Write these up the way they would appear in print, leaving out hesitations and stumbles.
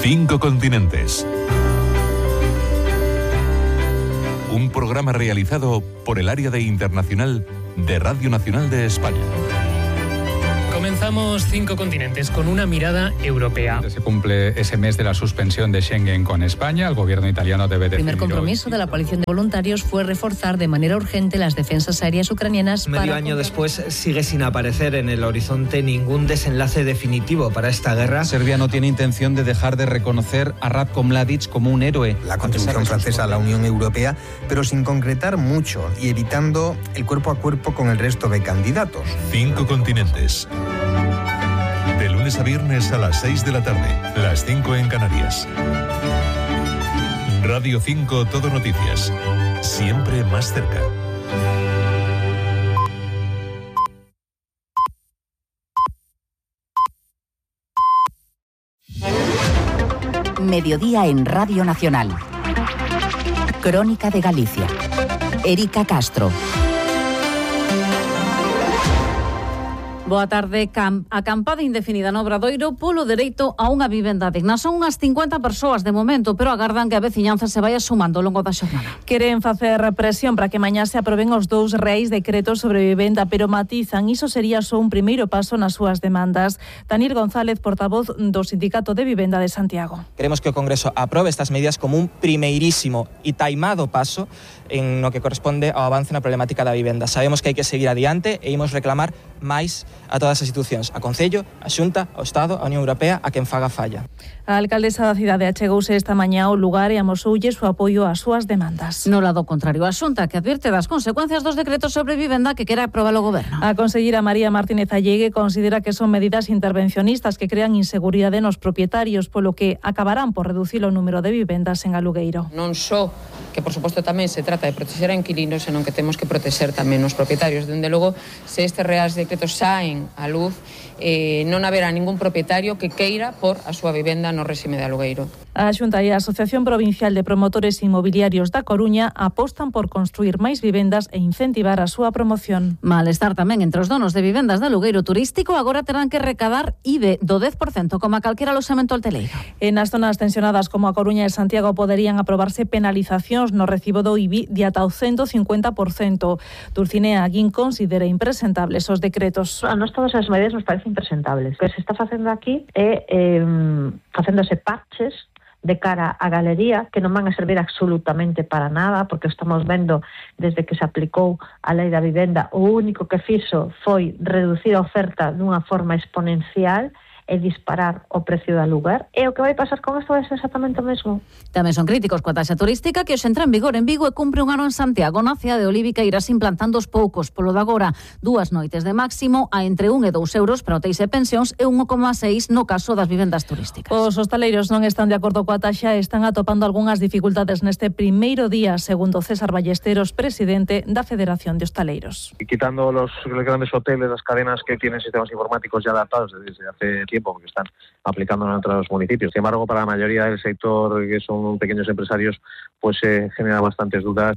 5 continentes. Un programa realizado por el área de internacional de Radio Nacional de España. Comenzamos 5 continentes con una mirada europea. Se cumple ese mes de la suspensión de Schengen con España. El gobierno italiano debe definir. El primer compromiso de la coalición de voluntarios fue reforzar de manera urgente las defensas aéreas ucranianas. Medio año después sigue sin aparecer en el horizonte ningún desenlace definitivo para esta guerra. Serbia no tiene intención de dejar de reconocer a Ratko Mladic como un héroe. La contribución francesa a la Unión Europea, pero sin concretar mucho y evitando el cuerpo a cuerpo con el resto de candidatos. 5 continentes. De lunes a viernes a las 6 de la tarde, las 5 en Canarias. Radio 5 Todo Noticias. Siempre más cerca. Mediodía en Radio Nacional. Crónica de Galicia. Erika Castro. Boa tarde. Acampada indefinida no Obradoiro polo dereito a unha vivenda digna. Son unhas 50 persoas de momento, pero agardan que a veciñanza se vaya sumando ao longo da xornada. Queren facer presión para que mañá se aproben os 2 reais decretos sobre vivenda, pero matizan, iso sería só un primeiro paso nas súas demandas. Daniel González, portavoz do Sindicato de Vivenda de Santiago. Queremos que o Congreso aprobe estas medidas como un primeirísimo e taimado paso en no que corresponde ao avance na problemática da vivenda. Sabemos que hai que seguir adiante e imos reclamar máis a todas as institucións, a Concello, a Xunta, ao Estado, a Unión Europea, a quen faga falla. A alcaldesa da cidade achegouse esta mañá ao lugar e amosoulle o apoio ás súas demandas. No lado contrario, a Xunta, que advirte das consecuencias dos decretos sobre vivenda que quere aprobar o Goberno. A conselleira María Martínez Allegue considera que son medidas intervencionistas que crean inseguridade nos propietarios, polo que acabarán por reducir o número de vivendas en alugueiro. Non só que, por suposto, tamén se trata de protexer a inquilinos, senón que temos que protexer tamén os propietarios. Dende logo, se estes reais decretos saen a luz, non haberá ningún propietario que queira por a súa vivenda no réxime de alugueiro. A Xunta e a Asociación Provincial de Promotores Inmobiliarios da Coruña apostan por construir máis vivendas e incentivar a súa promoción. Malestar tamén entre os donos de vivendas de alugueiro turístico. Agora terán que recadar IBE do 10% como a calquera aloxamento hoteleiro. En as zonas tensionadas como a Coruña e Santiago poderían aprobarse penalizacións no recibo do IBI de ata o 150%. Dulcinea Aguín considera impresentables os decretos. A nós todas as medidas nos parecen impresentables. O que se está facendo aquí é facéndose parches de cara á galería que non van a servir absolutamente para nada, porque estamos vendo desde que se aplicou a lei da vivenda, o único que fixo foi reducir a oferta dunha forma exponencial e disparar o precio do aluguer. E o que vai pasar con isto é exactamente o mesmo. Tamén son críticos coa taxa turística que hoxe entra en vigor en Vigo e cumpre un ano en Santiago. Na cidade de Olivica irás implantando os poucos. Polo de agora, 2 noites de máximo a entre 1 e 2 euros para hotéis e pensións e 1,6 no caso das vivendas turísticas. Os hostaleiros non están de acordo coa taxa e están atopando algunhas dificultades neste primeiro día, segundo César Ballesteros, presidente da Federación de Hostaleiros. Quitando los grandes hoteles, las cadenas que tienen sistemas informáticos ya adaptados desde hace tiempo, porque están aplicando en otros municipios. Sin embargo, para la mayoría del sector, que son pequeños empresarios, pues genera bastantes dudas.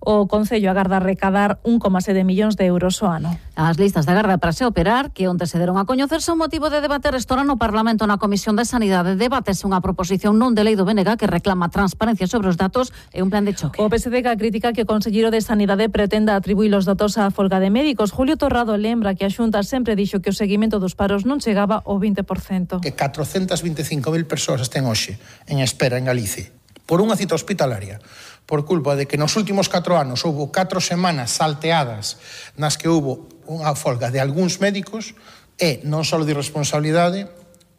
O Concello agarda recadar 1,7 millóns de euros ao ano. As listas de agarda para se operar, que onte se deron a coñecer, son motivo de debate restora no Parlamento na Comisión de Sanidade. Debatese unha proposición non de lei do BNG que reclama transparencia sobre os datos e un plan de choque. O PSDG critica que o Conselleiro de Sanidade pretenda atribuir os datos á folga de médicos. Julio Torrado lembra que a Xunta sempre dixo que o seguimento dos paros non chegaba ao 20%. Que 425.000 persoas estén hoxe en espera en Galicia por unha cita hospitalaria, por culpa de que nos últimos 4 anos houve 4 semanas salteadas nas que houve unha folga de algúns médicos, é non só de irresponsabilidade,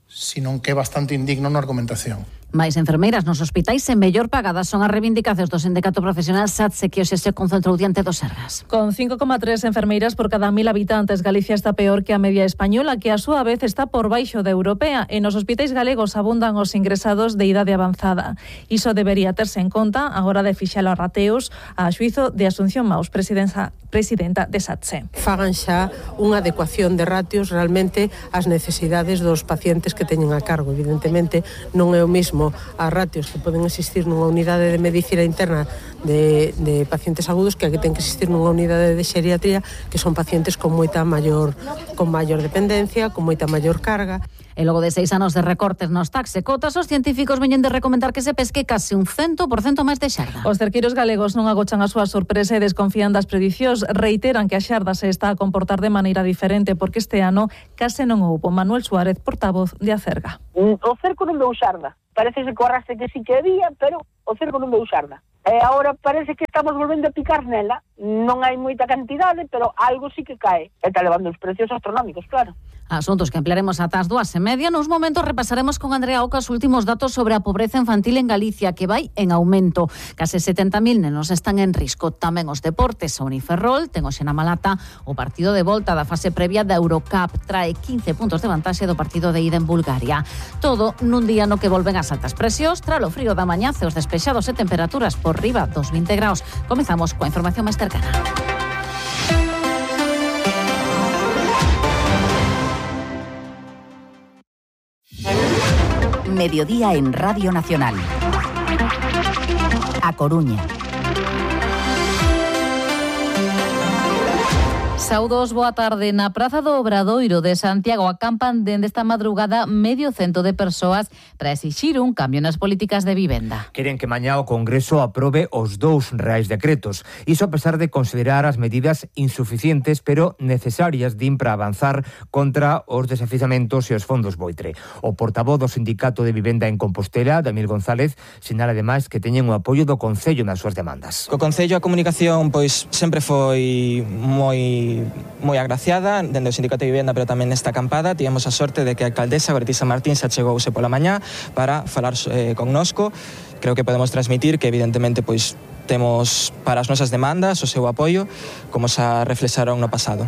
sino que é bastante indigno na argumentación. Máis enfermeiras nos hospitais e mellor pagadas son as reivindicacións do sindicato profesional SATSE que hoxe se concentrou diante dos Sergas. Con 5,3 enfermeiras por cada 1.000 habitantes, Galicia está peor que a media española, que a súa vez está por baixo da europea. E nos hospitais galegos abundan os ingresados de idade avanzada. Iso debería terse en conta a hora de fixar os rateos a xuizo de Asunción Maus, presidenta de SATSE. Fagan xa unha adecuación de ratios realmente ás necesidades dos pacientes que teñen a cargo. Evidentemente non é o mismo máximo as ratios que poden existir nunha unidade de medicina interna de pacientes agudos que aquí ten que existir nunha unidade de xeriatría, que son pacientes con maior dependencia, con moita maior carga. E logo de 6 anos de recortes nos tax e cotas, os científicos veñen de recomendar que se pesque case un 100% máis de xarda. Os cerqueiros galegos non agochan a súa sorpresa e desconfían das predicións. Reiteran que a xarda se está a comportar de maneira diferente porque este ano case non houbo. Manuel Suárez, portavoz de Acerga. O cerco non veu xarda. Parece que corraste que sí que había, pero o cerco non veu xarda. E agora parece que estamos volvendo a picar nela. Non hai moita cantidade, pero algo sí que cae. E está levando os precios astronómicos, claro. Asuntos que ampliaremos ata as 2:30. Nos momentos repasaremos con Andrea Oca os últimos datos sobre a pobreza infantil en Galicia, que vai en aumento. Case 70.000 nenos están en risco. Tamén os deportes. A Uniferrol ten hoxe na Malata o partido de volta da fase previa da Eurocup. Trae 15 puntos de vantaxe do partido de ida en Bulgaria. Todo nun día no que volven as altas presións, tralo frío da mañá, ceos despexados e temperaturas por riba dos 20 graus. Comezamos coa información máis cercana. Mediodía en Radio Nacional. A Coruña. Saudos, boa tarde. Na Praza do Obradoiro de Santiago acampan dende esta madrugada medio cento de persoas para exixir un cambio nas políticas de vivenda. Queren que mañá o Congreso aprobe os 2 reais decretos. Iso a pesar de considerar as medidas insuficientes pero necesarias para avanzar contra os desafiuzamentos e os fondos Boitre. O portavoz do Sindicato de Vivenda en Compostela, Daniel González, sinala ademais que teñen o apoio do Concello nas súas demandas. Co Concello a comunicación sempre foi moi agraciada dende o Sindicato de Vivenda, pero tamén nesta acampada tivemos a sorte de que a alcaldesa Bertisa Martín se achegouse pola mañá para falar connosco. Creo que podemos transmitir que evidentemente temos para as nosas demandas o seu apoio, como xa reflexaron no pasado.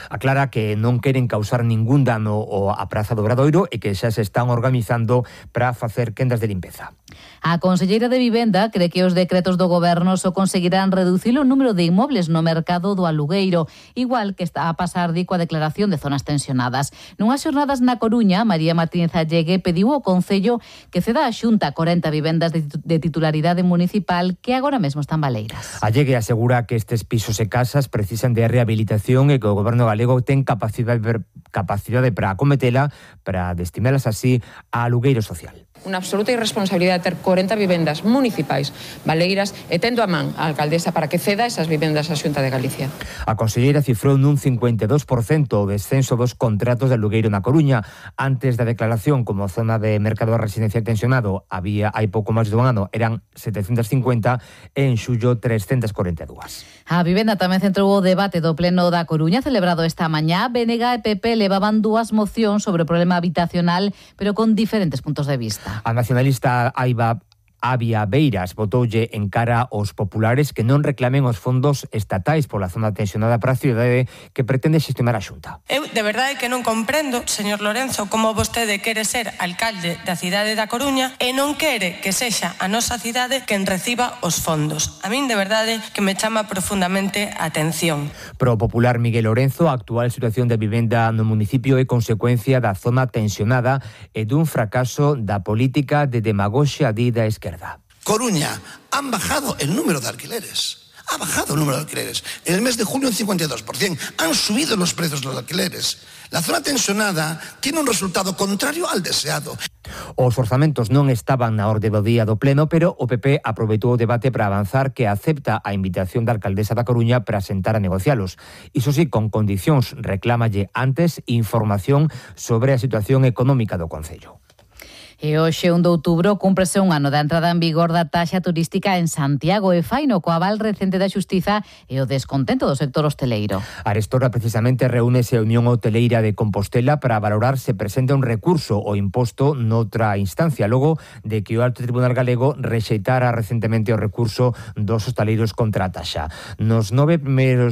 Aclara que non queren causar ningún dano á Praza do Obradoiro e que xa se están organizando para facer quendas de limpeza. A conselleira de Vivenda cree que os decretos do Goberno só conseguirán reducir o número de inmobles no mercado do alugueiro, igual que está a pasar coa declaración de zonas tensionadas. Nunhas xornadas na Coruña, María Martínez Allegue pediu ao Concello que ceda a Xunta 40 vivendas de titularidade municipal que agora mesmo están baleiras. Allegue asegura que estes pisos e casas precisan de rehabilitación e que o Goberno galego ten capacidade para acometela, para destinalas así a alugueiro social. Unha absoluta irresponsabilidade ter 40 vivendas municipais baleiras e tendo a man a alcaldesa para que ceda esas vivendas á Xunta de Galicia. A conselleira cifrou nun 52% o descenso dos contratos de alugueiro na Coruña. Antes da declaración como zona de mercado residencial tensionado hai pouco máis dun ano eran 750 e en xullo 342. A Vivenda tamén centrou o debate do Pleno da Coruña celebrado esta mañá. BNG e PP levaban 2 mocións sobre o problema habitacional, pero con diferentes puntos de vista. A nacionalista Avia Beiras botoulle en cara aos populares que non reclamen os fondos estatais pola zona tensionada para a cidade que pretende xestionar a Xunta. Eu de verdade que non comprendo, señor Lorenzo, como vostede quere ser alcalde da cidade da Coruña e non quere que sexa a nosa cidade quen reciba os fondos. A min de verdade que me chama profundamente a atención. Pro popular Miguel Lorenzo, a actual situación de vivenda no municipio é consecuencia da zona tensionada e dun fracaso da política de demagoxia da esquerda. Coruña, han bajado el número de alquileres. Ha bajado el número de alquileres. En el mes de julio un 52%. Han subido los precios de los alquileres. La zona tensionada tiene un resultado contrario al deseado. Os orzamentos non estaban na orde do día do Pleno, pero o PP aproveitou o debate para avanzar que acepta a invitación da alcaldesa da Coruña para sentar a negocialos. Iso sí, con condicións, reclámalle antes información sobre a situación económica do Concello. E hoxe, 1 de outubro, cúmprese un ano da entrada en vigor da taxa turística en Santiago e faino co aval recente da Xustiza e o descontento do sector hosteleiro. Arestora precisamente reúnese a Unión Hoteleira de Compostela para valorar se presenta un recurso o imposto noutra instancia, logo de que o Alto Tribunal Galego rexeitara recentemente o recurso dos hostaleiros contra a taxa. Nos 9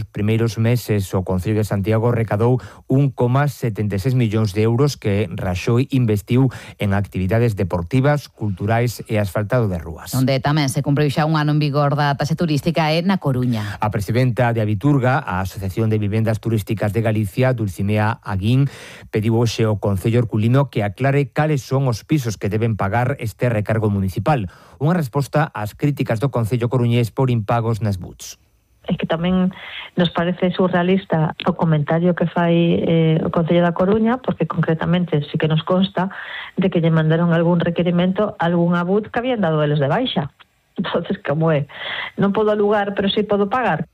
primeiros meses o Concello de Santiago recadou 1,76 millóns de euros que Raxoi investiu en actividade actividades deportivas, culturais e asfaltado de rúas. Onde tamén se cumpriu xa un ano en vigor da taxa turística é na Coruña. A presidenta de Abiturga, a Asociación de Vivendas Turísticas de Galicia, Dulcinea Aguín, pediu hoxe ao Concello herculino que aclare cales son os pisos que deben pagar este recargo municipal. Unha resposta ás críticas do Concello coruñés por impagos nas BUTs. É que tamén nos parece surrealista o comentario que fai o Concello da Coruña, porque concretamente sí que nos consta de que lle mandaron algún requerimento a algún abut que habían dado eles de baixa. Entonces, como é? Non podo alugar, pero sí podo pagar.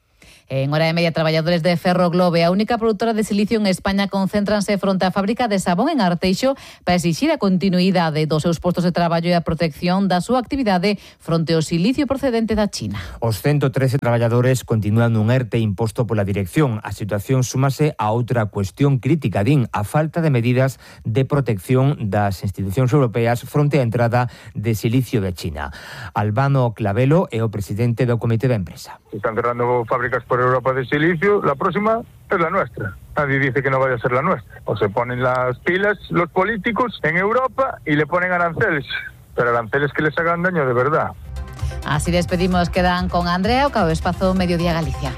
En hora e media, traballadores de Ferroglobe, a única produtora de silicio en España, concéntranse fronte á fábrica de Sabón en Arteixo para exixir a continuidade dos seus postos de traballo e a protección da súa actividade fronte ao silicio procedente da China. Os 113 traballadores continúan nun ERTE imposto pola dirección. A situación súmase a outra cuestión crítica, din, a falta de medidas de protección das institucións europeas fronte á entrada de silicio de China. Albano Clavelo é o presidente do Comité de Empresa. Están cerrando fábricas por Europa de silicio, la próxima es la nuestra. Nadie dice que no vaya a ser la nuestra. O se ponen las pilas los políticos en Europa y le ponen aranceles, pero aranceles que les hagan daño de verdad. Así despedimos, quedan con Andrea Ocao, Espazo Mediodía Galicia.